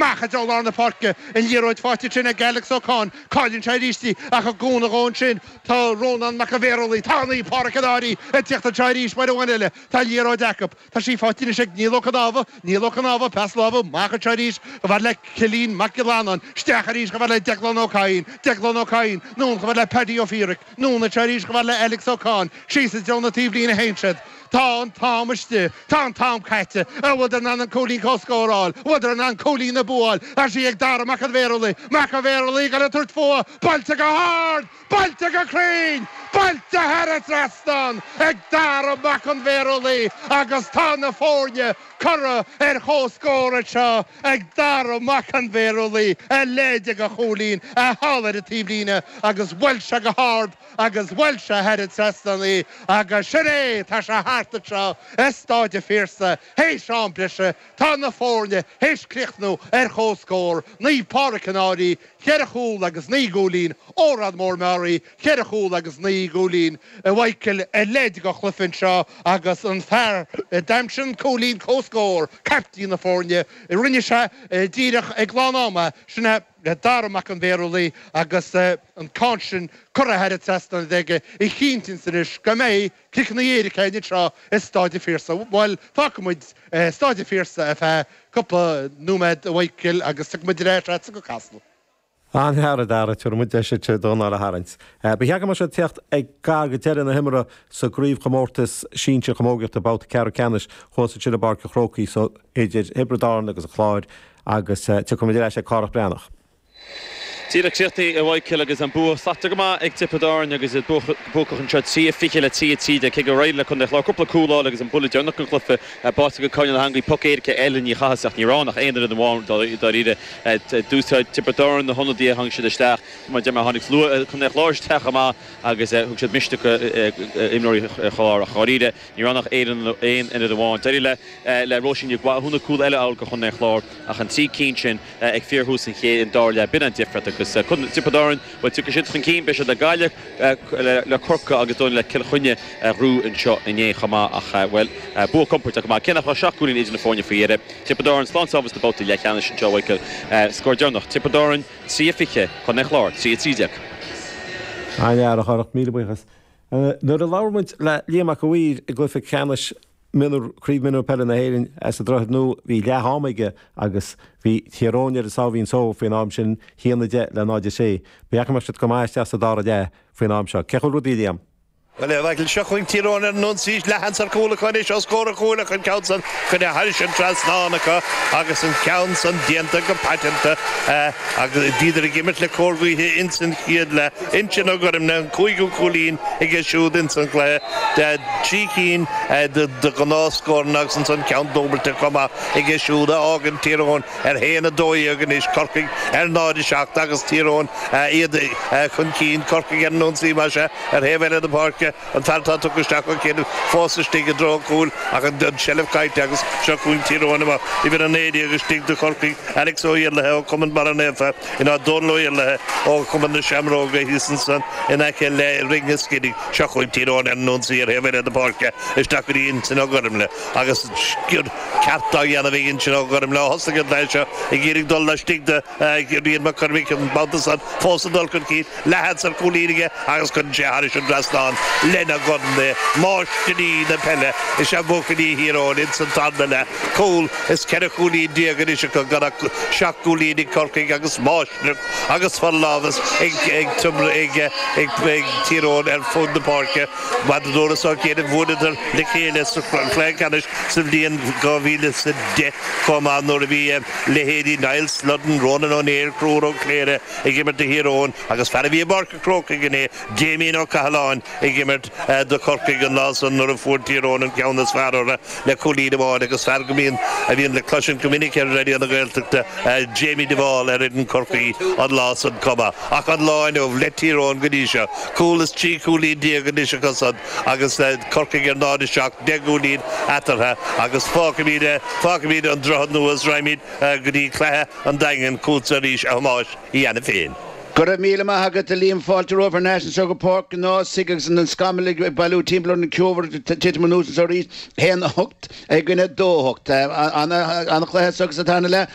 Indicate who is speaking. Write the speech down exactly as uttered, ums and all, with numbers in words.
Speaker 1: Amach i dtreo lár na páirce, an liathróid faighte ansin ag Alex Ó Cadhain, cailleann sé arís í ach i gcúnamh dhó ansin tá Rónán Mac an Bhéarlaí, tá Naomh Pádraig an Fhairche ag tíocht anseo arís uair amháin eile, tá an liathróid acu. Tá sí faighte anois ag Niall Ó Cnámha, Niall Ó Cnámha, pas láimhe amach anseo arís chomh fada le Cillian Mac Giollarnáin, isteach arís chomh fada le Declan Ó Cadhain, Declan Ó Cadhain, anonn chomh fada le Paddy Ó Fiaraic, anonn anseo arís chomh fada le Alex Ó Cadhain, síos i dtreo na taobhlíne a théann siad. Tá an t-am istigh. Tá an t-am caite. An bhfuileadar in ann an cúilín comhscóir a fháil? An bhfuileadar in ann cúilín an bua a fháil? Tá sí ag Dara Mac an Bhéarlaí. Mac an Bhéarlaí ag tabhairt fúithi. Buailte go hard! Buailte go cruinn! Buailte thar an trasnán ag Dara Mac an Bhéarlaí agus tá na foirne curtha ar comhscór anseo ag Dara Mac an Bhéarlaí, a leithéid de chúilín thall ar an taobhlíne agus bhuail sé go hard agus bhuail sé thar an trasnán í agus sin é, tá sé thart anseo i Stáid an Phiarsaigh théis am breise, tá na foirne théis críochnú ar comhscór, Naomh Pádraig an Fhairche, ceithre chúl agus naoi gcúilín, Órán Mór Meáraí, ceithre chúl agus naoi gcúilín. A Mhichael, a leithéid de chluiche anseo agus an fear a d'aimsigh an cúilín comhscóir, caiptín na foirne, rinne sé díreach ag lán ama, sin é Dara Mac an Bhéarlaí agus an ceann sin curtha thar an trasnán aige a chinntíonns anois go mbeidh ciceanna éirice againn anseo i Stáid an Phiarsaigh. Bhuel, fágfaidh muid Stáid an Phiarsaigh ar feadh cúpla nóiméad, a Mhichael, agus tiocfaidh muid ar ais agatsa go Casla.
Speaker 2: An-fhear, a Dhara, tabharfaidh muid deis duit d'fhón a tharraingt. Ba cheart go mbeadh sé ag teacht ag gar go deireadh na himeartha sa gcraobhchomórtas sinsir chamógaíochta, babhta ceathrú ceannais thuas ansin i bPáirc an Chrócaigh so idir Thiobraid Árann agus an Clár agus tiocfaidh muid ar ais ag Cárthach Breathnach.
Speaker 3: Díreach críochnaithe, a Mhichael, agus an bua slachtmhar go maith ag Tiobraid Árann agus iad buacach anseo trí a fiche le trí a trí déag cé gur éirigh le Contae an Chláir cúpla cúl a fháil agus an buille deireanach den chluiche báite ag Coinneal Ó hAngaidh poc éirice eile ní chaitheas ach ní raibh ann ach aon fhoireann amháin dáiríre. D'úsáid Tiobraid Árann na hionadaithe a tháinig siad isteach mar deir mé tháinig slua Chontae an Chláir isteach chomh maith agus thug siad misneach d'imreoirí an Chláir ach dháiríre ní raibh ann ach aon fhoireann amháin. D'éirigh le le Róisín Nic Mhathúna cúl eile a fháil do Chontae an Chláir ach an trí cinn sin ag fíorthús an chéad an dara leath. B'in an difríocht agus Tiobraid Árann, bhuel tiocfaidh siad chun cinn, beidh siad le Gaillimh, le Corcaigh agus dóigh le Cill Chainnigh a ghnóthú anseo inné chomh maith ach, bhuel, bua compordach go maith. Cé nach raibh seacht gcúilín idir na foirne faoi dheireadh, Tiobraid Árann slán sábháilte sna babhtaí leathcheannais anseo, Michael. Scór deireanach, Tiobraid Árann trí a fiche, Contae an Chláir trí a trí déag.
Speaker 2: An-fhear, a Chárthach, míle buíochas. Nuair a labhair muid le Liam Mac a' Mhaoir i gcluiche ceannais Mionúr, Craobh Mionúr Peile na hÉireann sa Droichead Nua, bhí leath ama aige agus bhí Tír Eoghain ar a sáimhín só faoin am sin, a haon a deich le náid a sé. Ba cheart go mbeadh siad go maith isteach sa dara leath faoin am seo. Cén chaoi a bhfuil rudaí, a Liam?
Speaker 4: Bhuel, a Mhichael, seo chugainn Tír Eoghain ar an ionsaí, leathsheans ar chúl acu anois os comhair an chúil ach an ceann san curtha thairis an trasnán acu agus an ceann san déanta go paiteanta agus bhíodar ag imirt le cóir gaoithe ins an chéad leath. Uinsionn Ó Gormlaithe, an cúigiú cúilín aige siúd ins an chluiche. Trí cinn de ghnáthscóranna agus ansan ceann dúbailte chomh maith aige siúd a fhágann Tír Eoghain ar haon a dó dhéag anois, Corcaigh ar náid a seacht agus Tír Eoghain iad chun cinn, Corcaigh ar an ionsaí más ea ar thaobh eile na páirce, an fear atá tugtha isteach Ó Céin fós istigh i dtreo an chúil ach an tseilbh caillte agus seo chugainn Tír Eoghain amach. Uimhir a naoi déag istigh do Chorcaigh, Alex Ó Iarlaithe ó Chumann Barra Naofa. In áit Dónal Ó Iarlaithe ó Chumann na Seamróige thíos ansan in aice le Rinn an Scidígh. Seo chugainn Tír Eoghain ar an ionsaí ar thaobh eile na páirce isteach go dtí Uinsionn Ó Gormlaithe agus sciorr ceart á dhéanamh ag Uinsionn Ó Gormlaithe ó thosaigh an cluiche seo ag iarraidh dul laistigh de Rian Mac Cormaic an babhta san fós ag dul chun cinn, leathsheans ar chúilín aige agus cuireann sé thairis an dtrasnán lena dhorn é. Máistirí na peile is ea buachaillí Thír Eoghain ins an tarna leath. Cúl is ceithre chúilín déag anois acu gan ach seacht gcúilín ag Corcaigh agus máistreacht agus forlámhas ag Tír Eoghain ar fud na páirce. Mar a dúras Ó Cianaibh, bhuaileadar le chéile sa chluiche ceannais sa bhliain dhá mhíle is a deich chomh maith nuair a bhí leithéidí Niall Sludden, Ronan Ó Néill, Conchúr Ó Cléire ag imirt do Thír Eoghain agus fear a bhí i bPáirc an Chrócaigh inné, Damien Ó Cathaláin ag imirt do Chorcaigh an lá san nuair a fuair Tír Eoghain an ceann is fearr orthu le cúilín amháin agus fear go mbíonn a bhíonn le cloisint go minic ar Raidió na Gaeltachta, Jamie de Bhál ar fhoireann Chorcaí an lá san chomh maith. Ach an lá inniu le Tír Eoghain go dtí seo, cúl is trí chúilín déag anois acu san agus Corcaigh ar náid a seacht, deich gcúilín eatarthu agus fágfaimid fágfaimid an Droichead Nua is raghaimid go dtí cluiche an Daingin chugatsa arís a Thomáis Uí Ainiféin.
Speaker 5: Go raibh míle maith agat a Liam, fáilte romhaibh thar n-ais anseo go Páirc an Ághasaigh agus an scamall ag bailiú timpeall ar an ceobhar ag titim anuas anseo arís, a haon a hocht i gcoinne dó a hocht. An-chluiche anseo sa tarna leath.